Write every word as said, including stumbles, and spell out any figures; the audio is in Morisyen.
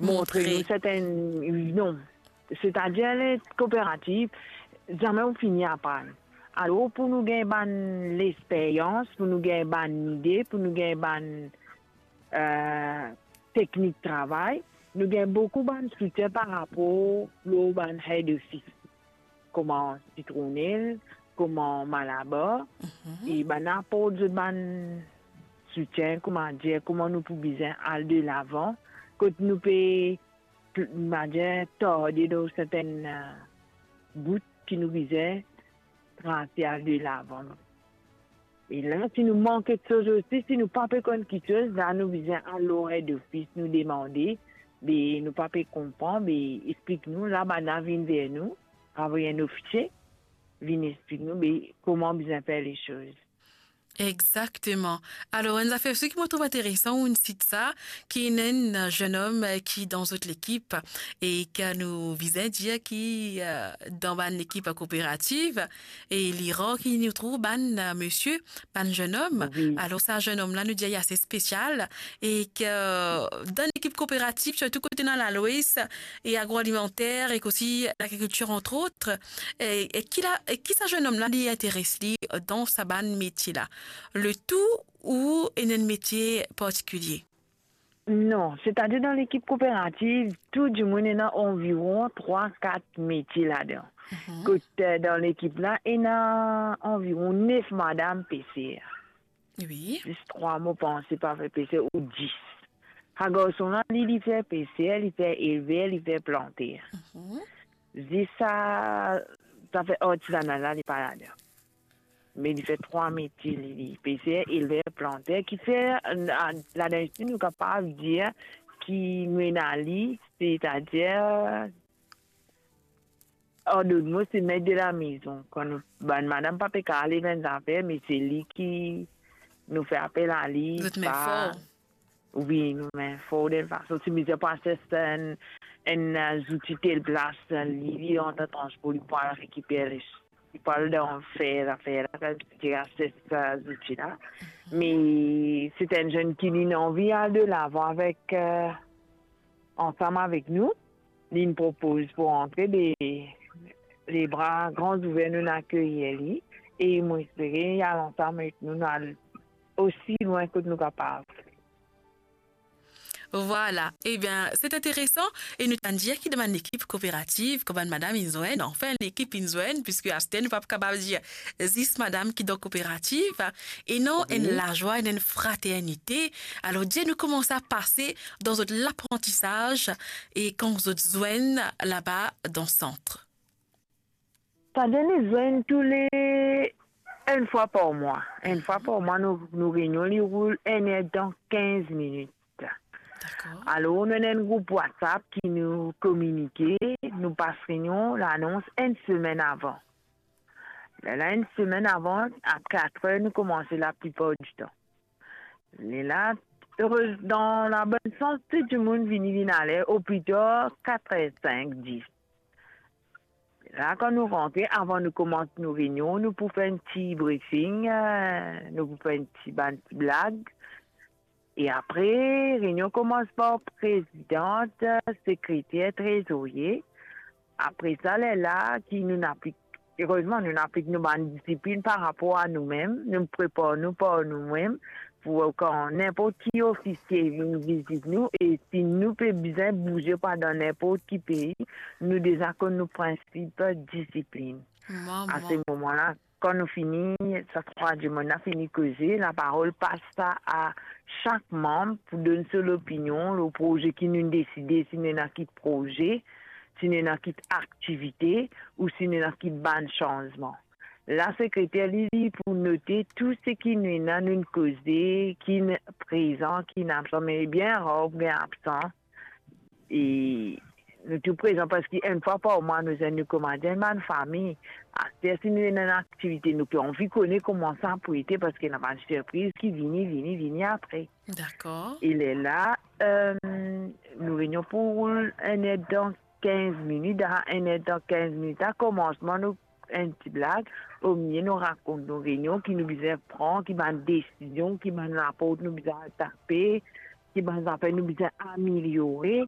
montre nou sertenn, non. Setadir, le kooperativ, zame ou fini aprann. Alor, pou nou gagn bann lesperyans, pou nou gagn bann lide, pou nou gagn bann, eh, teknik travay, nou gagn boukou bann soutien par rapor lor bann head office, kouma Sitronel, kouma Malabar, e bann aport zot bann soutien, kouma dir, kouma nou pou bizin al delavan, kot nou pe, pl-, kouma dir, tarde dan sertenn, eh, bout ki nou bizin trase al delavan. E la, si nou mank kiksoz osi, si nou pa pe konn kiksoz, la nou bizin al lor head office, nou demande, be nou pa pe konpran, be explik nou, la bann la vinn ver nou, avoy enn ofisie, vinn explik nou, be kouma bizin fer lesoz. Exakteman. Alor, enn zafer osi ki mo trouv interesan, ou inn sit sa, ki ena enn, eh, zennom, eh, ki dan zot lekip, e ki nou bizin dir ki, eh, dan bann lekip kooperativ, e li rar ki nou trouv bann, eh, misie, bann zennom. Wi. Alor, sa zennom la, nou dir, li ase spesial, e ki, eh, dan lekip kooperativ, sirtou kot ena lalwes e agroalimenter, e osi lagrikiltir, antre ot, e, e ki la, e ki sa zennom la, li interes li dan sa bann metie la? Le tou ou ena enn metie partikilie? Non, setadir dan lekip kooperativ, tou dimoun ena anviron trwa, kat metie ladan. Mhm. Kot, eh, dan lekip la, ena anviron nef madam peser. Wi. Zis trwa, mo panse, pa fer peser, ou dis. Sa garson la, li, li fer peser, li fer elver, li fer planter. Mhm. Zis sa, zafer artizana la, li pa ladan. Me li fer trwa metie, li, li peser, elver, planter, ki fer, eh, ladan isi, nou kapav dir ki nou ena li, setadir, an dot mo, se met de la mezon. Kan nou, bann madam pa pe kapav lev enn zafer, me se li ki nou fer apel a li. Zot met for. Wi, nou met for dan fason. Si bizin pou aste enn, enn, eh, zouti tel plas, li, li antan transpor, li pou al rekiper li, li pou al dan fer, zafer la, ki aste sa zouti la. Mhm. Me se enn zenn ki li anvi al delavan avek, eh, ansam avek nou. Li propoz pou antre, be, le bra gran ouver, nou akeyir li, e mo espere li al ansam avek nou, nou al osi lwin kot nou kapav. Vwala. Ebien, se interesan, e nou tann dir ki dan bann lekip kooperativ, kan bann madam inn zwenn, anfin, lekip inn zwenn, piski aster nou pa kapav dir zis madam ki dan kooperativ, ena enn lazwa, ena enn fraternite. Alor, dir nou kouma sa pase dan zot laprantisaz e kan zot zwenn laba dan sant? Setadir nou zwenn toule enn fwa par mwa. Enn fwa par mwa, nou, nou reynion, li roul enn er dan kinz minit. Dakor. Alor, nou ena enn group WhatsApp ki nou kominike, nou pas reynion, lanons enn semenn avan. Lerla, enn semenn avan, a kat er, nou koumans laplipar ditan. Lerla, erez, dan labonn sans, tou dimoun vini, vinn a ler, oplita kat er sink, dis. La, kan nou rantre, avan nou koumans nou reynion, nou pou fer enn ti briefing, eh, nou pou fer enn ti, bann ti blag. E apre, reynion koumans par prezidan, sekreter, trezorie. Apre sa, lerla ki nou ena pli, erezman, nou ena pli nou bann disiplin par rapor a noumem, nou prepar nou par noumem, pou kan ninport ki ofisie vinn vizit nou, e si nou pe bizin bouze pou al dan ninport ki pei, nou deza konn nou prinsip disiplin. Mama. A se moman la, kan nou fini, sa trwa dimoun la fini koze, laparol pas sa a sak manm pou donn so lopinion lor proze ki nou deside, si nou ena ki proze, si nou ena ki aktivite, ou si nou ena ki bann sanzman. La, sekreter li, li pou note tou seki nou ena, nou koze, ki prezan, ki absan, me bien rar pou gagn absan. E nou tou prezan, parski enn fwa par mwa, nou zwenn, nou kouma enn bann fami. Aster, si nou ena enn aktivite, nou pe anvi kone kouma sa pou ete, parski ena bann sirpriz ki vini, vini, vini apre. Dakor. E lerla, eh, nou reynion pou roul enn er dan kinz minit, a enn er dan kinz minit, a komansman nou enn ti blag, omilie nou rakont nou reynion ki nou bizin pran, ki bann desizion, ki bann laport nou bizin al tape, ki bann zafer nou bizin ameliore,